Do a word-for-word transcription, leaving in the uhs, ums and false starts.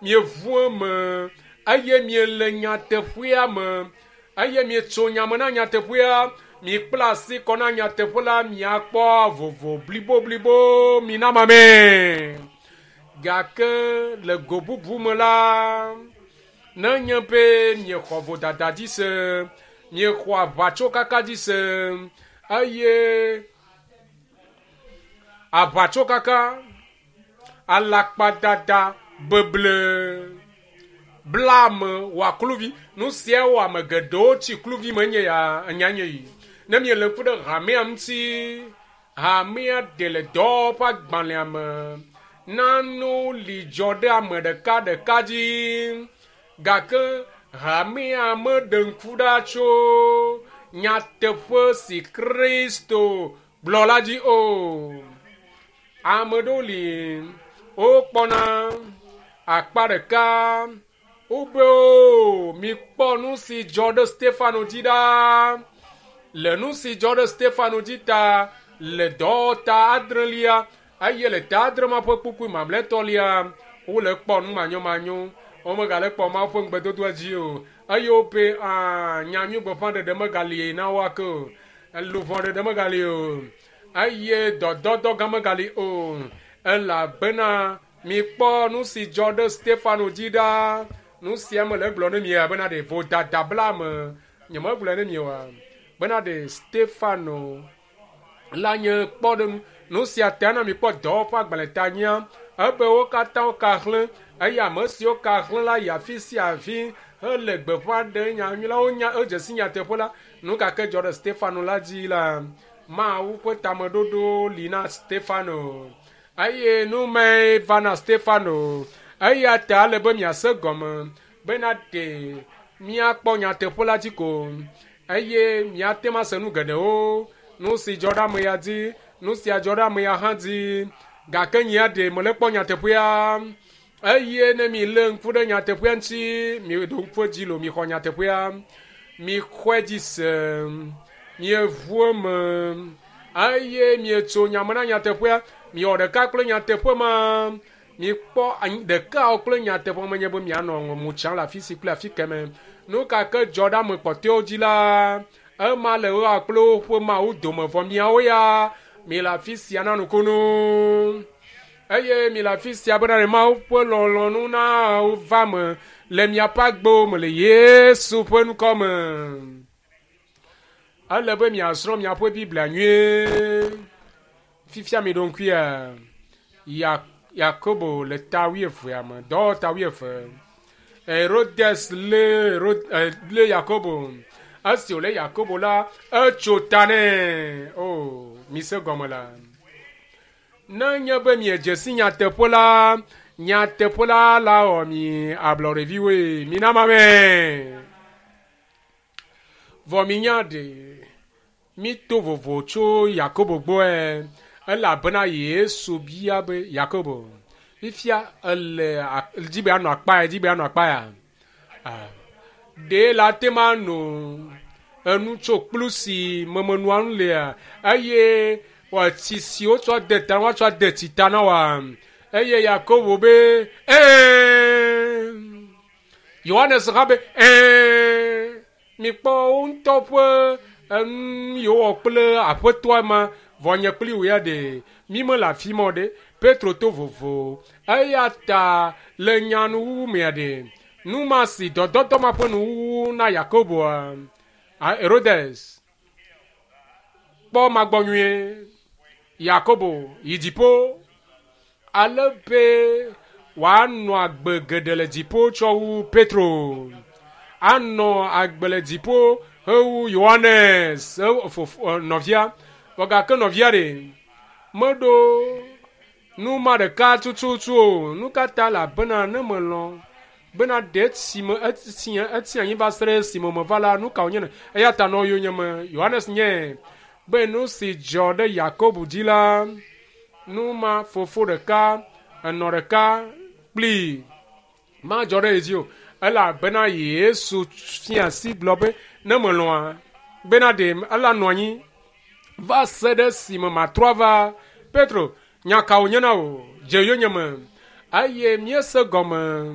Mieʋu eme eye miele nyateƒea me eye mietso nyame na nyateƒea. Mikpla asi kɔ na nyateƒe la miakpɔ vovo bliboblibo mina mame. Gake le go bubu me la, nenye be miexɔ vodada dzi se, miexɔ aʋatsokaka dzi se eye aʋatsokaka, alakpadada, beble, bla ame wɔ kluvi. Nu sia wɔ ame geɖewo tsi kluvi me nye ya enya nye yi. Ne miele ŋku ɖe hamea ŋuti, hamea ɖe le dɔwɔƒe agbalẽa me. Nanewo li dzɔ ɖe ame ɖeka ɖeka dzi gake hamea meɖe ŋku ɖa tso nyateƒe si Kristo gblɔ la dzi o. Ame ɖewo li wokpɔna akpa ɖeka wobe o mikpɔ nu si dzɔ ɖe Stefano dzi ɖa. Le nu si dzɔ ɖe Stefano dzi ta le dɔwɔta adrelia eye le ta adre ma ƒe kpukpui mamlɛtɔlia wole kpɔ nu manyomanyo womegale kpɔ Mawu ƒe ŋugbedodoa dzi o eye wobe aa nyanyui gbeƒãɖeɖe megali na wo ake o luʋɔ ɖeɖe megali o eye dɔdɔdɔ gã megali o elabena mikpɔ nu si dzɔ ɖe Stefano dzi ɖa. Nu sia mele egblɔ ne mi bena ɖe vodada bla ame nyemegblɔe ne mi oa bena ɖe Stefano la nye kpɔɖeŋu. Nu sia ta na mikpɔ dɔwɔƒe agbalẽ ta nyia ebe wo katã woka xlẽ eye ame siwo ka xlẽ la yi afi sia afi hele gbeƒã ɖe nyanyui la wonya edze si nyateƒe la nu gake dzɔ ɖe Stefano la dzi la Mawu ƒe tameɖoɖo li na Stefano eye nu mae va na Stefano eya ta ele be miase gɔme bena ɖe míakpɔ nyateƒe la dzi ko eye miate ŋu ase nu geɖewo nu si dzɔ ɖe ame ya dzi nu sia dzɔ ɖe ame ya hã dzi gake nyea ɖe mele kpɔ nyateƒea eye ne mi lé ŋku ɖe nyateƒea ŋuti mi ɖo ŋku edzi lo mixɔ nyateƒea mixɔe dzi se mieʋu eme eye mietso nyame na nyateƒea miwɔ ɖeka kple nyateƒe ma mikpɔ ɖekawo kple nyateƒe menye be mianɔ mo tsam le afi si kple afi keme nu ka ke dzɔ ɖe ame kpɔtɔewo dzi la ema le woa kple woƒe mawu dome vɔ miawo ya mi le afi sia na nukunu eye mi le afi sia bena ɖe Mawu ƒe lɔlɔ̃nu na wova me le miaƒe agbewo me le Yesu ƒe ŋkɔ me. Ele be miasrɔ̃ miaƒe Biblia nyuie. Fifia mi ɖo ŋkuia ya Yakobo le ta wuievea me dɔwɔta wuieve. Herodes lé Herod lé Yakobo. Esi wòlé Yakobo la etso ta nɛ. O mise gɔme la. Ne nye be miedze si nyateƒe la, nyateƒe la la wɔ mi ablɔɖeviwoe. Mina mame. Vɔ minya ɖe mi to vovo tso Yakobo gbɔe elabena Yesu bia be Yakobo fifia ele dzi be anɔ akpa ya dzi be anɔ akpa ya. Ɖe la te ma no enu tso kplu si memenua nu lea eye tsi si wotsɔ de ta woatsɔ de tsi ta na wa eye Yakobo be ɛɛ Yohanes hã be ɛɛ mikpɔ wo ŋutɔ ƒe enu yiwo wɔ kple aƒetɔa ma vɔ nye kpli wò ya ɖe mi mele afi ma o ɖe Petro to vovo eya ta le nyanuwuwu mea ɖe nu ma si dɔdɔdɔ ma ƒe nuwuwu na Yakoboa Herodes kpɔ magbɔ nyuie Yakobo yi dziƒo ale be wòanɔ agbe geɖe le dziƒo tsɔ wu Petro anɔ agbe le dziƒo hewu Yohanes fofo nɔvia vɔ gake nɔvia ɖe meɖo nu ma ɖeka tututu o nu ka ta elabena ne melɔ̃ bena ɖe esime etsi etsi anyi va se ɖe esime meva la nu ka wònye ne eya ta nɔ yonyeme Yohanes nye be nu si dzɔ ɖe Yakobo dzi la nu ma fofo ɖeka enɔ ɖeka kplii madzɔ ɖe ye dzi o elabena Yesu fia asi gblɔ be ne melɔ̃a bena ɖe ela nɔ anyi va se ɖe esime matrɔ ava Petro nya ka wònye na wò dze yonyeme eye míese gɔme